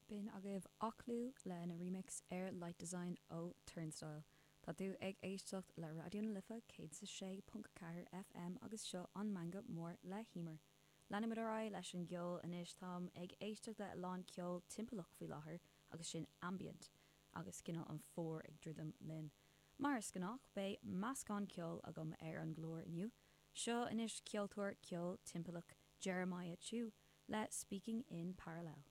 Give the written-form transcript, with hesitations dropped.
B'in agaibh Aclú lena remix ar Light Design ó Turnstile. Tá tú ag éisteacht le Raidió na Life 106.4 FM agus seo an Meangadh Mór le hEmer. Leanfaimid ar aghaidh leis an gceol anois. Táim ag éisteacht le a lán ceol timpeallach faoi láthair agus sin ambient agus cineál an fómhar ag druidim linn. Mar is gnách beidh meascán ceoil agam ar an gclár inniu. Seo anois ceoltóir ceol timpeallach Jeremiah Chiu le Speaking in Parallel.